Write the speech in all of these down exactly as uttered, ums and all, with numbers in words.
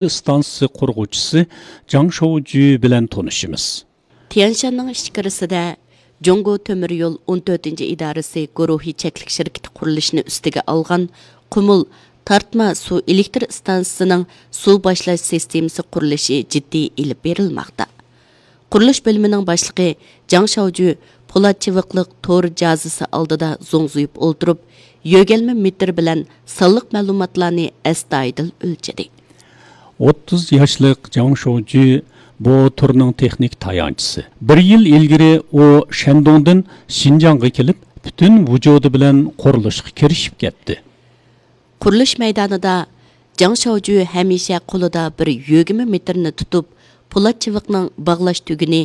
ئىستانسىسى قۇرغۇچىسى جاڭ شوۋجۈ بىلەن تونۇشىمىز. تيەنشاننىڭ ئىچكىرىسىدە جۇڭگو تۆمۈر يول ئون تۆتىنچى ئىدارىسى گۇرۇھى چەكلىك شىركىتى قۇرۇلۇشىنى ئۈستىگە ئالغان قۇمۇل تارتما سۇ ئېلېكتر ئىستانسىسىنىڭ سۇ باشلاش سىستېمىسى قۇرۇلۇشى جىددىي ئېلىپ بېرىلماقتا. قۇرۇلۇش بۆلۈمىنىڭ باشلىقى جاڭ شاۋجۈ پولات چىۋىقلىق تور جازىسى ئالدىدا زوڭزىيىپ ئولتۇرۇپ، يۆگەلمە مېتىر بىلەن سانلىق مەلۇماتلارنى ئەستايىدىل ئۆلچىدى. ئوتتۇز ياشلىق جاڭ شوۋجۈ بۇ تۈرنىڭ تېخنىك تايانچىسى. بىر يىل ئىلگىرى ئۇ شەندۇڭدىن شىنجاڭغا كېلىپ، پۈتۈن ۋۇجۇدى بىلەن قۇرۇلۇشقا كىرىشىپ كەتتى. قۇرۇلۇش مەيدانىدا جاڭ شاۋجۈ ھەمىشە قولىدا بىر يۆگىمە مېتىرنى تۇتۇپ، پولات چىۋىقنىڭ باغلاش تۈگۈنى،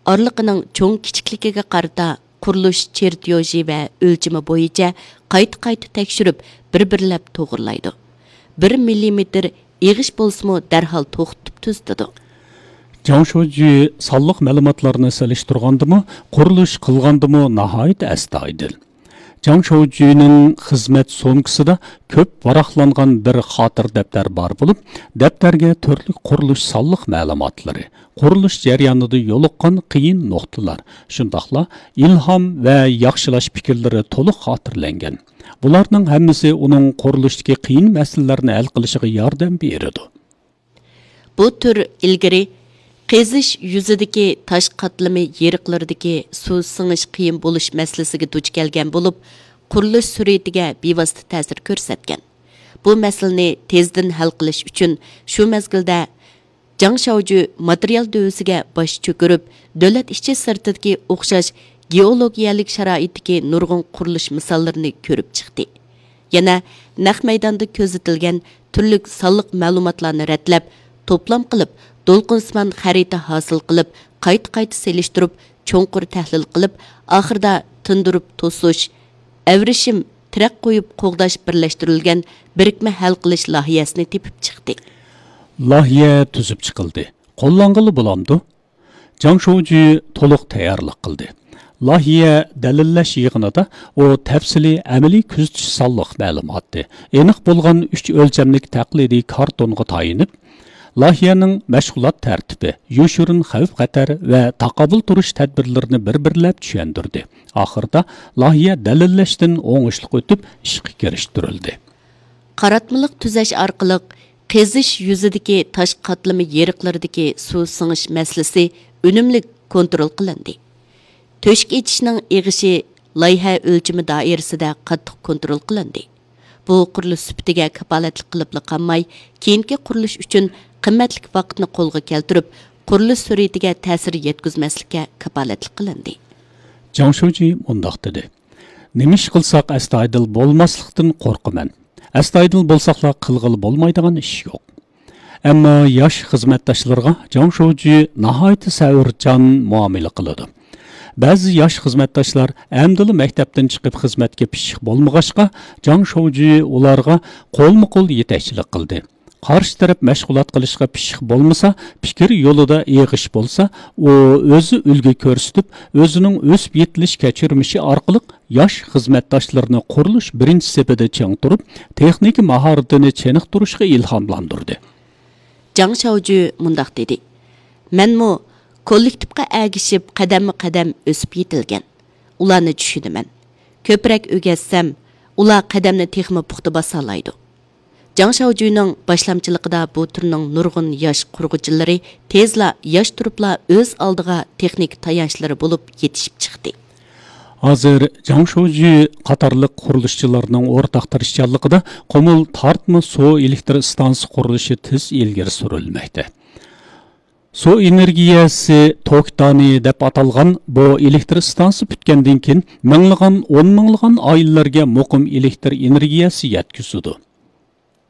ئارىلىقىنىڭ چوڭ كىچىكلىكىگە قارىتا قۇرۇلۇش چېرتيوژى ۋە ئۆلچىمى بويىچە قايتا-قايتا تەكشۈرۈپ، بىر-بىرلەپ توغرىلايدۇ. بىر مىللىمېتىر ئېغىش بولسىمۇ دەرھال توختىتىپ تۈزىتىدۇ. جاڭ شوۋجۈ سانلىق مەلۇماتلارنى سېلىشتۇرغاندىمۇ، قۇرۇلۇش قىلغاندىمۇ ناھايىتى ئەستايىدىل. جاڭ شوۋجۈنىڭ خىزمەت سومكىسىدا كۆپ ۋاراقلانغان بىر خاتىرە دەپتەر بار بولۇپ، دەپتەرگە تۈرلۈك قۇرۇلۇش سانلىق مەلۇماتلىرى، قۇرۇلۇش جەريانىدا يولۇققان قىيىن نۇقتىلار، شۇنداقلا ئىلھام ۋە ياخشىلاش پىكىرلىرى تولۇق خاتىرىلەنگەن. بۇلارنىڭ ھەممىسى ئۇنىڭ قۇرۇلۇشتىكى قىيىن مەسىلىلەرنى ھەل قىلىشىغا ياردەم بېرىدۇ. بۇ تۈر ئىلگىرى قېزىش يۈزىدىكى تاش قاتلىمى يېرىقلىرىدىكى سۇ سىڭىش قىيىن بولۇش مەسىلىسىگە دۇچ كەلگەن بولۇپ، قۇرۇلۇش سۈرئىتىگە بىۋاسىتە تەسىر كۆرسەتكەن. بۇ مەسىلىنى تېزدىن ھەل قىلىش ئۈچۈن شۇ مەزگىلدە جاڭ شاۋجۈ ماتېرىيال دۆۋىسىگە باش چۆكۈرۈپ، دۆلەت ئىچى سىرتىدىكى ئوخشاش گېئولوگىيەلىك شارائىتتىكى نۇرغۇن قۇرۇلۇش مىساللىرىنى كۆرۈپ چىقتى. يەنە نەق مەيداندا كۆزىتىلگەن تۈرلۈك سانلىق مەلۇماتلارنى رەتلەپ، توپلام قىلىپ، دولقۇنسىمان خەرىتە ھاسىل قىلىپ، قايتا-قايتا سېلىشتۇرۇپ، چوڭقۇر تەھلىل قىلىپ، ئاخىرىدا تىندۇرۇپ توسۇش، ئەۋرىشىم، تىرەك قويۇپ قوغداش بىرلەشتۈرۈلگەن بىرىكمە ھەل قىلىش لايىھەسىنى تېپىپ چىقتى. لايىھە تۈزۈپ چىقىلدى. قوللانغىلى بولامدۇ؟ جاڭ شوۋجۈ تولۇق تەييارلىق قىلدى. لايىھە دەلىللەش يىغىنىدا ئۇ تەپسىلىي ئەمەلىي كۆزىتىش سانلىق مەلۇماتى، ئېنىق بولغان ئۈچ ئۆلچەملىك تەقلىدىي كارتونغا تايىنىپ، لايىھەنىڭ مەشغۇلات تەرتىپى، يوشۇرۇن خەۋپ-خەتەر ۋە تاقابىل تۇرۇش تەدبىرلىرىنى بىر-بىرلەپ چۈشەندۈردى. ئاخىرىدا لايىھە دەلىللەشتىن ئوڭۇشلۇق ئۆتۈپ، ئىشقا كىرىشتۈرۈلدى. قاراتمىلىق تۈزەش ئارقىلىق قېزىش يۈزىدىكى تاش قاتلىمى يېرىقلىرىدىكى سۇ سىڭىش مەسىلىسى ئۈنۈملۈك كونترول قىلىندى. تۆشۈك ئېچىشنىڭ ئېغىشى لايىھە ئۆلچىمى دائىرىسىدە قاتتىق كونترول قىلىندى. بۇ قۇرۇلۇش سۈپىتىگە كاپالەتلىك قىلىپلا قالماي، كېيىنكى قۇرۇلۇش ئۈچۈن قىممەتلىك ۋاقىتنى قولغا كەلتۈرۈپ، قۇرۇلۇش سۈرئىتىگە تەسىر يەتكۈزمەسلىككە كاپالەتلىك قىلىندى. جاڭ شۇجى مۇنداق دېدى: نېمە ئىش قىلساق ئەستايىدىل بولماسلىقتىن قورقىمەن. ئەستايىدىل بولساقلا قىلغىلى بولمايدىغان ئىش يوق. ئەمما ياش خىزمەتداشلىرىغا جاڭ شۇجى ناھايىتى سەۋرچان مۇئامىلە قىلىدۇ. بەزى ياش خىزمەتداشلار ئەمدىلا مەكتەپتىن چىقىپ خىزمەتكە پىششىق بولمىغاچقا، جاڭ شۇجى ئۇلارغا قولمۇ قول يېتەكچىلىك قىلدى. قارشى تەرەپ مەشغۇلات قىلىشقا پىششىق بولمىسا، پىكىر يولىدا ئېغىش بولسا، ئۇ ئۆزى ئۈلگە كۆرسىتىپ، ئۆزىنىڭ ئۆسۈپ يېتىلىش كەچۈرمىشى ئارقىلىق ياش خىزمەتداشلىرىنى قۇرۇلۇش بىرىنچى سېپىدە چىڭ تۇرۇپ، تېخنىكا ماھارىتىنى چېنىقتۇرۇشقا ئىلھاملاندۇردى. جاڭ شاۋجۈ مۇنداق دېدى: مەنمۇ كوللېكتىپقا ئەگىشىپ قەدەممۇ قەدەم ئۆسۈپ يېتىلگەن. ئۇلارنى چۈشىنىمەن. كۆپرەك ئۆگەتسەم، ئۇلار قەدەمنى تېخىمۇ پۇختا باسالايدۇ. جاڭ شاۋجۈنىڭ باشلامچىلىقىدا بۇ تۈرنىڭ نۇرغۇن ياش قۇرغۇچىلىرى تېزلا ياش تۇرۇپلا ئۆز ئالدىغا تېخنىكا تايانچلىرى بولۇپ يېتىشىپ چىقتى. ھازىر جاڭ شۇجى قاتارلىق قۇرۇلۇشچىلارنىڭ ئورتاق تىرىشچانلىقىدا قۇمۇل تارتما سۇ ئېلېكتر ئىستانسىسى قۇرۇلۇشى تېز ئىلگىرى سۈرۈلمەكتە. سۇ ئېنېرگىيەسى توكتانى دەپ ئاتالغان بۇ ئېلېكتر ئىستانسىسى پۈتكەندىن كېيىن، مىڭلىغان، ئون مىڭلىغان ئائىلىلەرگە مۇقىم ئېلېكتر ئېنېرگىيەسى يەتكۈزىدۇ.